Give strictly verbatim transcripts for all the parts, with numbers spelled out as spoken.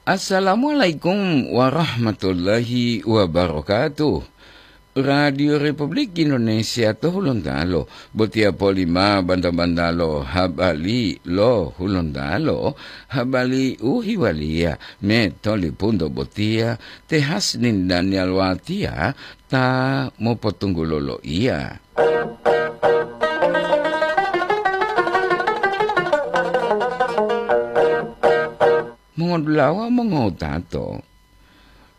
Assalamualaikum warahmatullahi wabarakatuh. Radio Republik Indonesia to Hulontalo, botiya polima banta-bantalo habari lo Hulontalo, habari u hiwaliya me tolipunto botiya te Hasnin Daniel Watia ta mopotunggulo loiya. Mongodulawa mongowutato,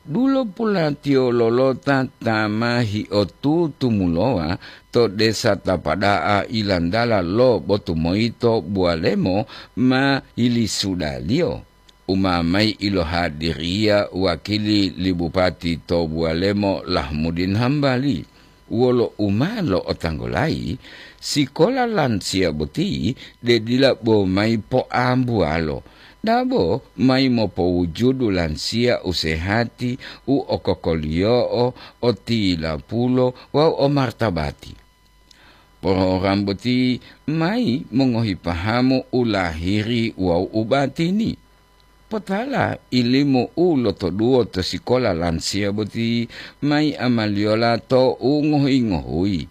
dulo pulatiyo lolota ta ma hiotutumulowa to desa Tapada'a ilantala lo Botumoyito Buwalemo ma yilisudaliyo. U ma mayi ilohadiriya wakili li Bupati to Buwalemo Lahmudin Hambali. Wolo u ma lo'otanggulayi, sikola lansiya boti de dila bo mayi poambuwalo, dabo mayi mopowujudu lansiya u sehati, u okokoliyo'o, o tilapulo wawu o martabati. Porogram boti mayi mongohi pahamu u lahiri wawu u batini. Potala ilimu u lotoduwo to sikola lansiya boti mayi amaliyola to u ngohuyi-ngohuyi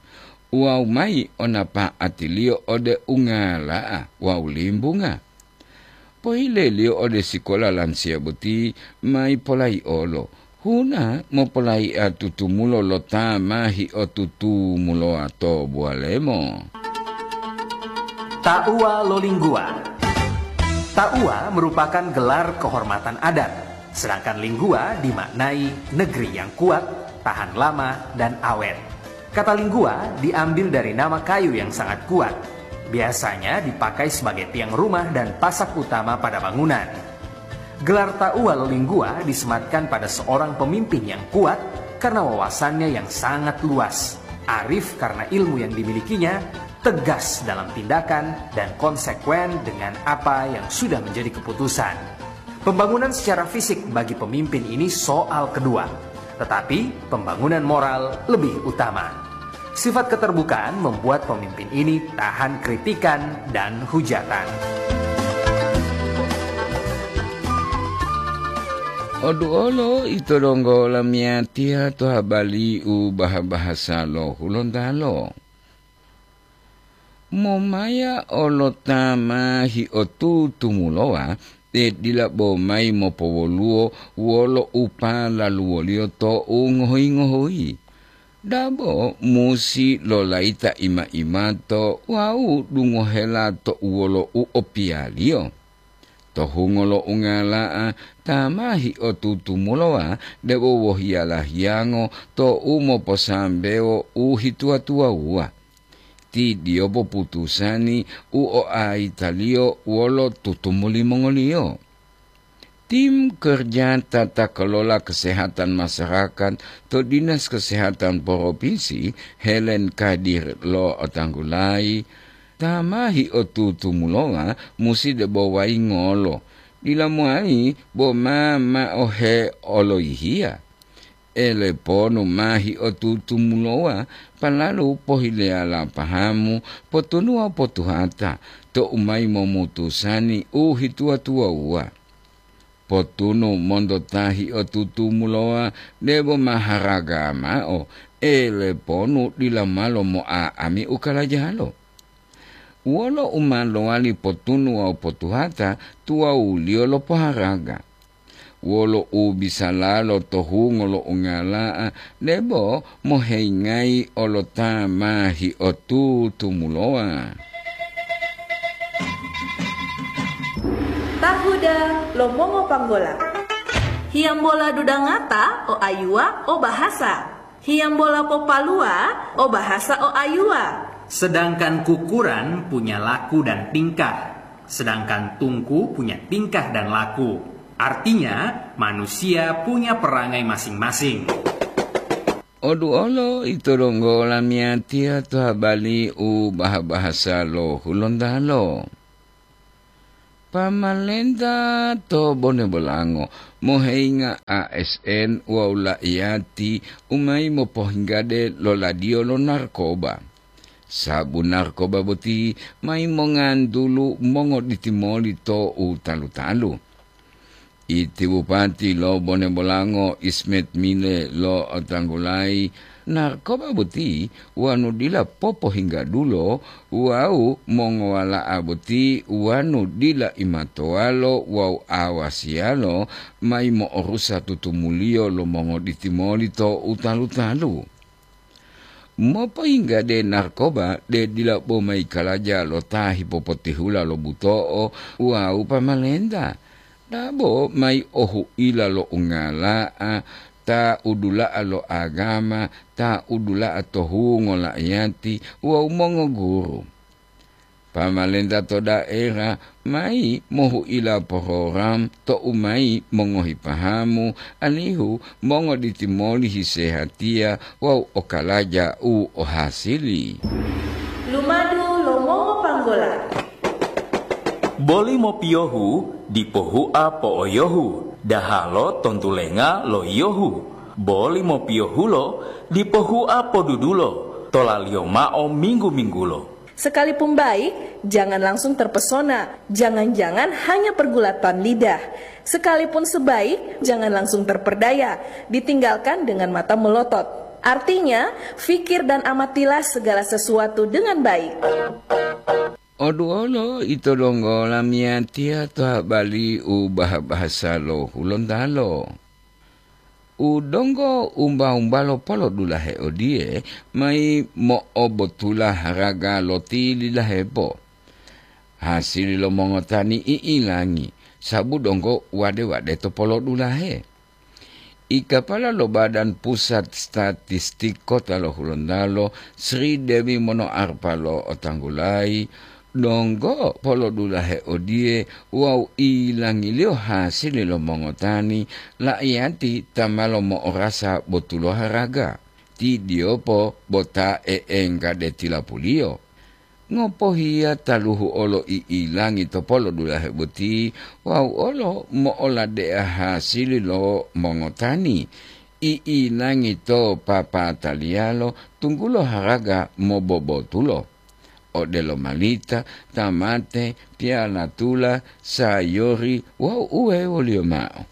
wawu mayi o napa'atiliyo ode ungala'a wawu limbunga. Pohileliyo ode sikola lansiya boti mayi polayi'olo, huna mopolayi'a tutumulo lo ta ma hiotutumulowa to Buwalemo. Tauwa lo Lingguwa. Tauwa merupakan gelar kehormatan adat, sedangkan Lingguwa dimaknai negeri yang kuat, tahan lama, dan awet. Kata Lingguwa diambil dari nama kayu yang sangat kuat. Biasanya dipakai sebagai tiang rumah dan pasak utama pada bangunan. Gelar Tauwa lo Lingguwa disematkan pada seorang pemimpin yang kuat karena wawasannya yang sangat luas, arif karena ilmu yang dimilikinya, tegas dalam tindakan, dan konsekuen dengan apa yang sudah menjadi keputusan. Pembangunan secara fisik bagi pemimpin ini soal kedua, tetapi pembangunan moral lebih utama. Sifat keterbukaan membuat pemimpin ini tahan kritikan dan hujatan. Oduolo ito donggo lamiyatiya to habari u baha-bahasa lo Hulontalo. Momaya olo ta ma hiotutumulowa, te dila bo mayi mopowoluwo wolo u palaluwoliyo to u ngohuyi-ngohuyi. Dabo musi lolayita ima-imato wawu dungohela to u wolo u opiyaliyo. To hungo lo ungala'a ta ma hiotutumulowa debo wohiyala hiyango to u moposambewo u hituwa-tuwawuwa. Ti diyopo putusani u oaitaliyo wolo tutumuli mongoliyo. Tim kerja tata kelola kesehatan masyarakat to Dinas Kesehatan Provinsi Helen Kadir lo otanggulayi, ta ma hiotutumulowa musi debo wayingolo, dila mowali bo ma mao he oloyihiya. Eleponu ma hiotutumulowa, palalu pohileyala pahamu, potunuwa potuhata, to u mayi momutusani u hituwa-tuwawuwa. Potunu monto ta hiotutumulowa debo maharaga mao, eleponu dila malo moa'ami u kalajalo. Wolo u ma lowali potunu wawu potuhata tuwawuliyo lo poharaga? Wolo u bisalalo to hungo lo ungala'a debo moheyingayi olo ta ma hiotutumulowa? Tahuda lo mongopanggola. Hiyambola dudangata o ayuwa o bahasa. Hiyambola popaluwa o bahasa o ayuwa. Sedangkan kukuran punya laku dan tingkah, sedangkan tungku punya tingkah dan laku. Artinya, manusia punya perangai masing-masing. Oduolo ito donggo lamiyatiya to habari u baha-bahasa lo Hulontalo. Pamalenta to Bone Bolango moheyinga A S N wawu la'iyati u mayi mopohinggade loladiyo lo narkoba. Sabu narkoba boti mayi mongantulu mongoditi moli to u talu-talu. Iti bupati lo Bone Bolango Ismet Mile lo otanggulayi narkoba boti wonu dila popohinggadulo wawu mongowala'a boti wonu dila imatowalo wawu awasiyalo mayi mo'orusa tutumuliyo lo mongoditi moli to utalu-talu. Mopoyinggade narkoba de dila bo mayi kalaja lo ta hipopotihula lo buto'o wawu pamalenta, dabo mayi ohuila lo ungala'a, ta udula'a lo agama, ta udula'a to hungo la'iyati wawu mongoguru. Pamalenta to daera mayi mohuila porogram to'u mayi mongohi pahamu alihu mongoditi moli hisehatiya wawu okalaja u ohasili. Lumadu lo mongopanggola. Boli mopiyohu dipo hua po'oyohu, dahalo tontulenga lo yiyohu. Boli mopiyohulo dipo hua podudulo, tolaliyo mao minggu-minggulo. Sekalipun baik, jangan langsung terpesona. Jangan-jangan hanya pergulatan lidah. Sekalipun sebaik, jangan langsung terperdaya. Ditinggalkan dengan mata melotot. Artinya, fikir dan amatilah segala sesuatu dengan baik. Oduolo ito donggo lamiyatiya to habali u baha-bahasa lo Hulontalo. U donggo umba-umbalo polodulahe odiye, mayi mo'obotula haraga lo tilidahepo. Hasili lo mongotani i'ilangi, sabu donggo wade-wade to polodulahe. Ikapala lo Badan Pusat Statistik Kota lo Hulontalo, Sri Dewi Monoarpa lo otanggulayi, donggo polodulahe odiye wawu ilangiliyo hasili lo mongotani, la'iyati ta ma lomo'orasa botulo haraga. Ti diyopo bota e'engga de tilapuliyo. Ngopohiya taluhu olo i'ilangi to polodulahe boti wawu olo mo'oladea hasili lo mongotani, i'ilangi to papataliyalo tunggulo haraga mobobotulo, odelo malita, tamate, piyalatula, sayori wawu uwewoliyo mao.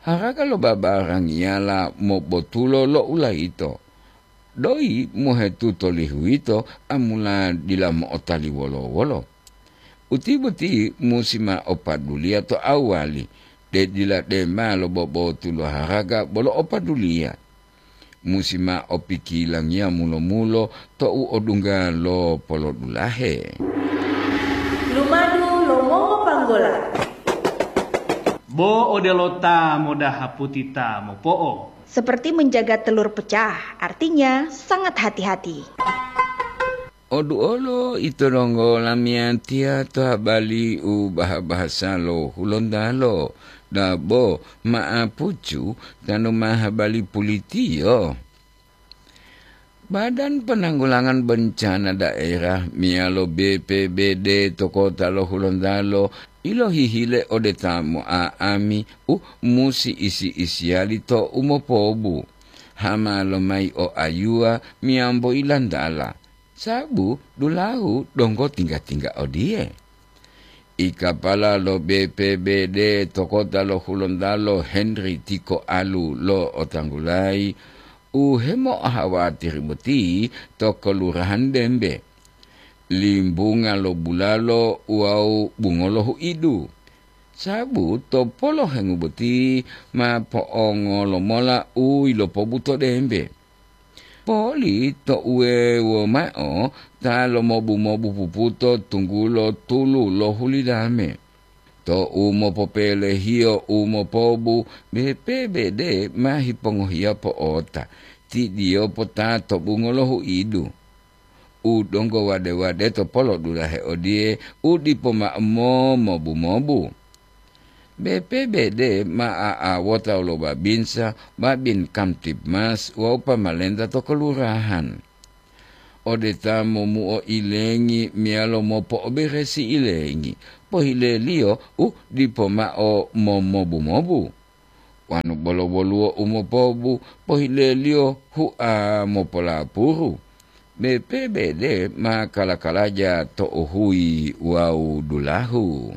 Haraga lo babarangiyala mobotulo lo ulayito. Doyi mohetuto lihuwito amula dila mo'otali wolo-wolo. Uti boti musi ma opaduliya to awali, de dila dema lo bobotulo haraga bolo opaduliya. Musi ma opikilangiya mulo-mulo to'u odungga lo polodulahe. Lumadu lo mongopanggola. Bo odelo ta modaha puti ta mopo'o. Seperti menjaga telur pecah, artinya sangat hati-hati. Oduolo ito donggo lamiyatiya to habali u baha-bahasa lo Hulontalo, dabo ma'apucu tanu ma habali pulitiyo. Badan Penanggulangan Bencana Daerah meyalo B P B D to kota lo Hulontalo ilohihile ode ta mo'a'ami u musi isi-isiyali to umopobu, hama lomayi o ayuwa meyambo ilantala, sabu dulahu donggo tingga-tingga odiye. Ikapala lo B P B D to kota lo Hulontalo Henry Tiko Alu lo otanggulayi, u hemo'ahawatiri boti to Kelurahan Dembe, Limbunga lo Bulalo wawu Bungolo Huidu. Sabu to polohengu boti ma po'ongolo mola u yilopobuto Dembe. Poli to uwewo mao ta lomobu-mobu puputo tunggulo tulu lo hulidame. To u mopopelehiyo u mopobu, B P B D ma hipongohiya po'ota, ti diyopo ta to Bungolo Huidu. U donggo wade-wade to polodulahe odiye u dipo mao momobu-mobu. B P B D ma a'awota lo babinsa, babin Kamtibmas wawu pamalenta to kelurahan. Ode ta momuo ilengi meyalo mopo'oberesi ilengi, pohileliyo u dipo mao momobu-mobu. Wonu bolo woluwo u mopobu, pohileliyo hua mopolapuru. B P B D ma kala-kalaja to uhuyi wawu dulahu.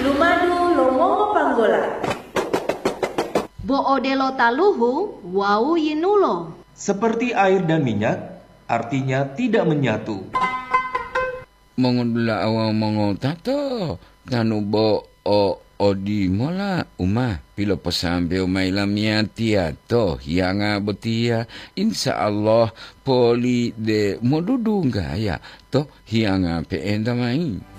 Lumadu lo mongo bola. Bo odelo taluhu wawu yinulo. Seperti air dan minyak, artinya tidak menyatu. Mongodula'a wawu mongotato, tanu bo o odimola u ma piloposambewo mayi lamiyatiya to hiyanga botiya, insya Allah poli de modudunggaya to hiyanga pe'enta mayi.